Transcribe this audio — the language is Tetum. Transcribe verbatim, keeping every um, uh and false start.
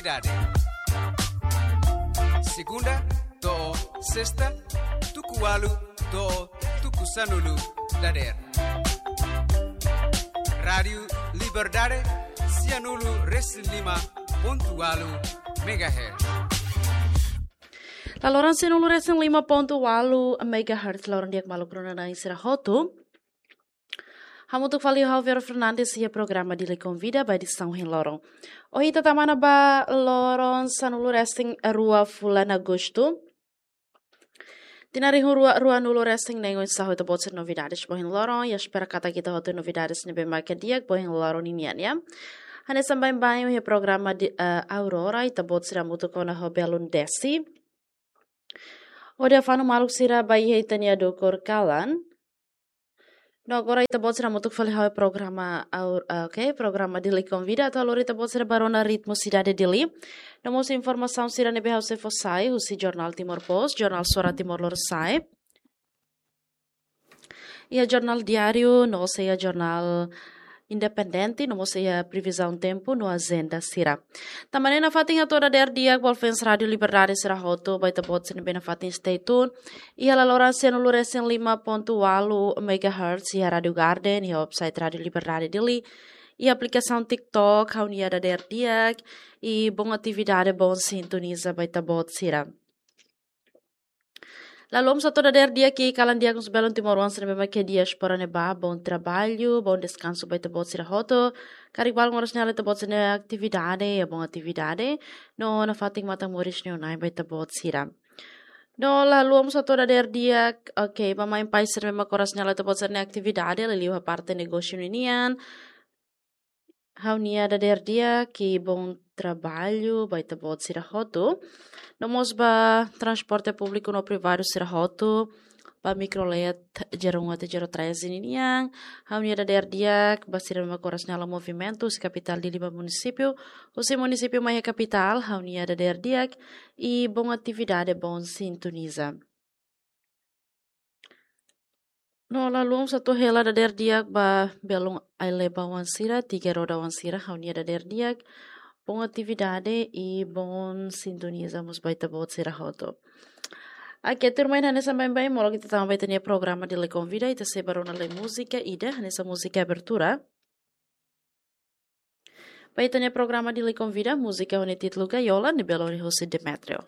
Dade. Segunda to'o sesta, tuku ualu to'o tuku sanulu dadeer. Rádiu Liberdade, sianulu resin lima pontu ualu megahertz. La loron sianulu resin lima pontu ualu megahertz, loron di'ak maluk rona-na'in sira hotu. Hamutuk fali ho ha'u Vero Fernandes iha programa Dili Konvida ba edisaun ohin loron. Ohin ita tama ona ba loron sanulu resin rua fulan Agostu. Tinan rihun rua ruanulu resin neen, oinsá ho ita-boot sira novidades ba ohin loron, i espera katak ita hotu novidades ne'ebé mak di'ak ba ohin loron ninian, ya. Hanesan baibain iha programa di, eh, Aurora, ita-boot sira hamutuk ona ho belun Desi. Hodi afano maluk sira ba iha ita-nia dukur kalan. No agora ita-boot sira hamutuk fali ho programa Aur-, ah, oke, programa Dili Konvida atu halo ita-boot sira ba rona ritmu sidade Dili. No mós informasaun sira ne'ebé ha'u sei fó sai husi Jornál Timor Post, Jornál Suara Timor Lorosa'e, iha Jornál Diáriu, no sei iha Jornál Independente, no mós sei iha previzaun tempu no ajenda sira. Tanba ne'e nafatin hato'o dadeer di'ak ba fans Rádiu Liberdade sira hotu, ba ita-boot sira ne'ebé nafatin stay tune iha la loron sianulu resin lima pontu ualu megahertz, iha Rádiu Garden, iha website Rádiu Liberdade Dili, iha aplikasaun TikTok, ha'u-nia dadeer di'ak, i bom atividade, bom sintoniza ba ita-boot sira. Lalu, mós hato'o dadeer di'ak iha kalan di'ak husi belun timoroan sira ne'ebé mak iha diáspora ne'ebá, bom traballu, bom deskansu ba ita-boot sira hotu. Karik balun oras ne'e halo ita-boot sira-nia atividade, iha bom atividade. No nafatin matan moris ne'e Na'i ba ita-boot sira. No lalu, mós hato'o dadeer di'ak, oke, ba mãe pai sira ne'ebé mak oras ne'e halo ita-boot sira-nia atividade, liuliu iha parte negósiu ninian. Ha'u-nia dadeer di'ak, i bom traballu ba ita-boot sira hotu. No mós ba transporte públiku no privadu sira hotu, ba mikrolet zero um até zero três ninian. Ha'u-nia dadeer di'ak ba sira ne'ebé mak oras ne'e halo movimentu husi kapitál Dili ba munisípiu, husi munisípiu mai iha kapitál, ha'u-nia dadeer di'ak, i bom atividade, bom sintoniza. No lalu, mós hato'o hela dadeer di'ak ba belun ai-leba oan sira, tiga roda oan sira, ha'u-nia dadeer di'ak, bom atividade, i bom sintoniza mós ba ita-boot sira hotu. Oke, tuirmai, hanesan baibain, molok ita tama ba ita-nia programa Dili Konvida, ita sei ba rona lai múzika ida, hanesan múzika abertura ba ita-nia programa Dili Konvida, múzika ho nia títulu Gaiola, ne'ebé lori husi Demetrio.